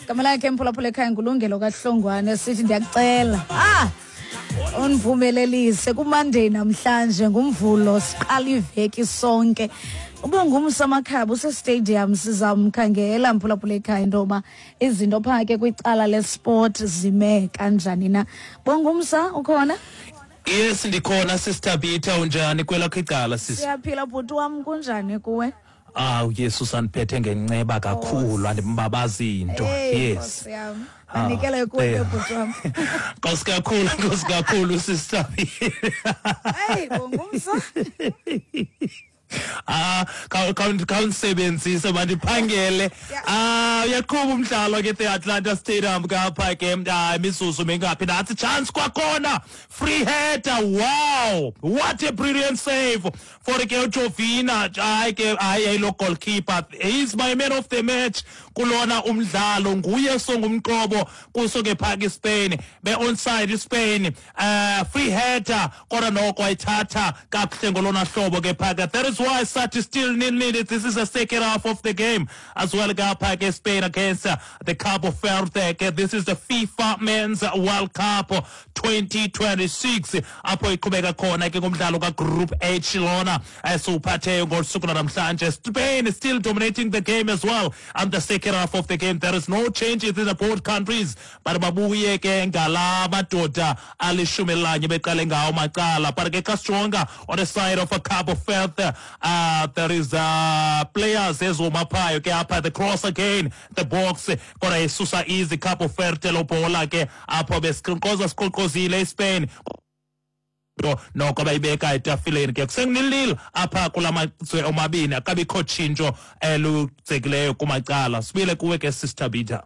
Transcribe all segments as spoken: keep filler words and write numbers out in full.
Igama lakhe mphulaphula ekhaya nguLungelo kaHlongwane, sithi ndiyakucela ah undivumelelise kuMonday namhlanje, ngumvulo, siqala iveki sonke. Ubongumsa Makhaba usestadium, sizamkhangela mphulaphula ekhaya into yoba izinto phaa ke kwicala lesport zime kanjani na. Bongumsa, ukhona? Yes, ndikhona Sister Peter, unjani kwelakho icala sis? Siyaphila bhuti wam, kunjani kuwe? Ah, uYesu sandiphethe ngenceba kakhulu, andimbabazi into. Yes. Anikele kuwe bhuti wam. Nkosi kakhulu, nkosi kakhulu Sister. Hey, bongumsa. Ah, khawundisebenzise mandiphangele. Ah, uyaqhuba umdlalo ke the Atlanta Stadium kapha ke, ah, imizuzu mingaphi? Nathi chance kwakhona, free header, wow, what a brilliant save for ke uJovina. Hayi ke, hayi lo goalkeeper, he is my man of the match kulona umdlalo, nguye songumqobo kuso ke phaka iSpain, be onside iSpain, uh free header kodwa noko ayithatha kakuhle ngolona hlobo ke phaka. That is why Sati still nil nil. This is the second half of the game as well. Gapha Spain against uh, the Cabo Verde. This is the FIFA Men's World Cup twenty twenty-six. Apho iqhubeka khona ke ngomdlalo ka Group H lona esuphatheyo ngosuku namhlanje. Spain is still dominating the game as well. And the second half of the game, there is no changes in the both countries. But babuye ke ngala madoda alishumi lanye beqale ngawo macala. But ke xa sijonga on the side of a Cabo Verde, Uh, there is uh, players ezomaphayo ke apha, the cross again, the box kodwa isusa easy Cabo Verde lo bhola ke apho besiqoqoza siqoqozile iSpain noko bayibeka etafileni ke kusengunilil apha kula mazwe omabini, akabikho tshintsho eludzekileyo kumacala. Sibile kuwe ke Sister Bita.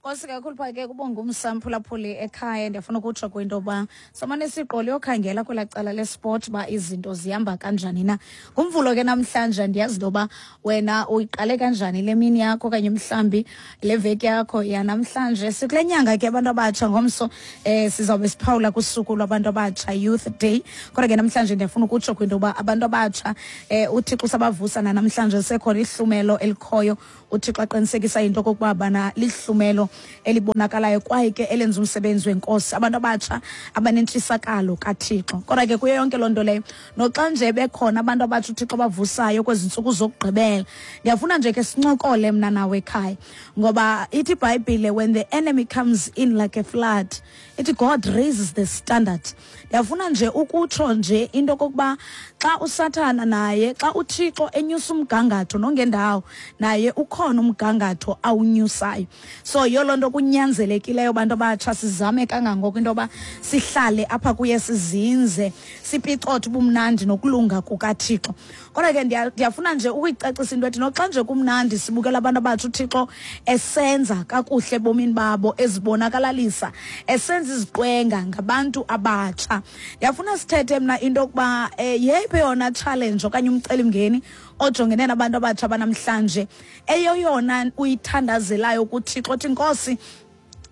Nkosi kakhulu pha ke kubongumsa mphulaphuli ekhaya. Ndiyafuna ukutsho kwinto yoba samane siqole yokhangela kwelaa cala lesport uba izinto zihamba kanjani na. Ngumvulo ke namhlanje, ndiyazi into yoba wena uyiqale kanjani le mini yakho okanye mhlawumbi le veki yakho yanamhlanje. Sikule nyanga ke abantu abatsha, ngomso um sizawube siphawula kusuku lwabantu abatsha, Youth Day. Kodwa ke namhlanje ndiyafuna ukutsho kwinto yoba abantu abatsha um uThixo usabavusa nanamhlanje, sekhona ihlumelo elikhoyo uThixo aqinisekisa into okokuba bana lihlumelo elibonakalayo kwaye ke elenza umsebenzi wenkosi, abantu abatsha abanentshisakalo kaThixo. Kodwa ke kuyo yonke loo nto leyo, noxa nje bekhona abantu abatsha uThixo abavusayo kwezi ntsuku zokugqibela, ndiyafuna nje ke sincokole mna nawe ekhaya, ngoba ithi iBhayibhile, when the enemy comes in like a flood, ithi God raises the standard. Ndiyafuna nje ukutsho nje into okokuba xa uSathana naye, xa uThixo enyusa umgangatho nongendawo, naye ukhona umgangatho awunyusayo. So yiyo loo nto kunyanzelekileyo bantu abatsha sizame kangangoko into yoba sihlale apha kuye, sizinze, sipicothe ubumnandi nokulunga kukaThixo. Kodwa ke ndiyafuna nje ukuyicacisa into ethi noxa nje kumnandi sibukela abantu abatsha uThixo esenza kakuhle ebomini babo, ezibonakalalisa, esenza iziqwenga ngabantu abatsha, ndiyafuna sithethe mna into yokuba um yeyiphi yona challenge okanye umcelimngeni ojongene nabantu abatsha banamhlanje, eyoyona uyithandazelayo kuThixo, othi Nkosi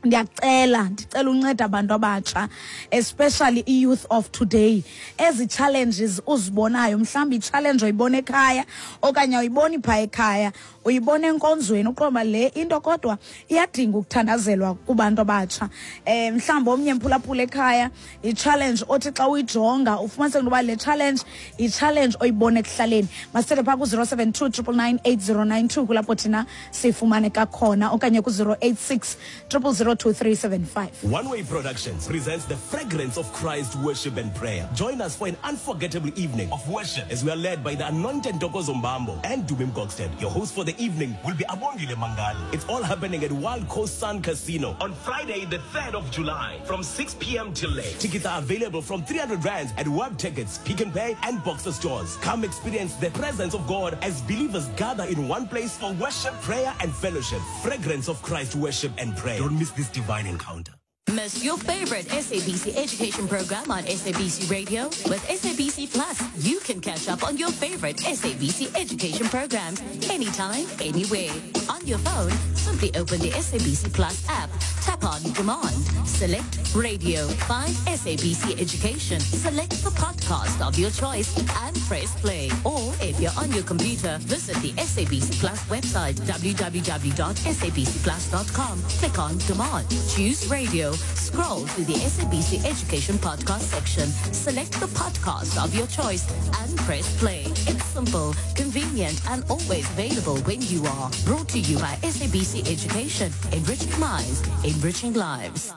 ndiyacela, ndicela unceda abantu abatsha, especially i-youth of today. Ezi challenges uzibonayo, mhlawumbi i-challenge oyibona ekhaya okanye awuyiboni phaa ekhaya, uyibona enkonzweni, uqonda le into kodwa iyadinga ukuthandazelwa kubantu abatsha. Um mhlawumbi omnye mphulaphula ekhaya, i-challenge othi xa uyijonga ufumaniseke into yoba le challenge yi-challenge oyibona ekuhlaleni. Masithethe phaa ku-zero seven two triple nine eight zero nine two, kulapho thina sifumaneka khona, okanye ku-zero eight six triple zero two three seven five. One Way Productions presents the Fragrance of Christ Worship and Prayer. Join us for an unforgettable evening of worship as we are led by the anointed Ntokozo Mbambo and Dumi Mkokstad. Your host for the evening will be Abongile Mangali. It's all happening at Wild Coast Sun Casino on Friday, the third of July from six p m till late. Tickets are available from three hundred rands at Web Tickets, Pick n Pay and Boxer stores. Come experience the presence of God as believers gather in one place for worship, prayer and fellowship. Fragrance of Christ Worship and Prayer. Don't miss this divine encounter. Miss your favorite S A B C education program on S A B C Radio? With S A B C Plus, you can catch up on your favorite S A B C education programs anytime, anywhere. On your phone, simply open the S A B C Plus app, tap Tap on Demand. Select Radio. Find S A B C Education. Select the podcast of your choice and press play. Or if you're on your computer, visit the S A B C Plus website, w w w dot s a b c plus dot com. Click on Demand. Choose Radio. Scroll to the S A B C Education podcast section. Select the podcast of your choice and press play. It's simple, convenient, and always available when you are. Brought to you by S A B C Education. Enriching minds, enriching lives.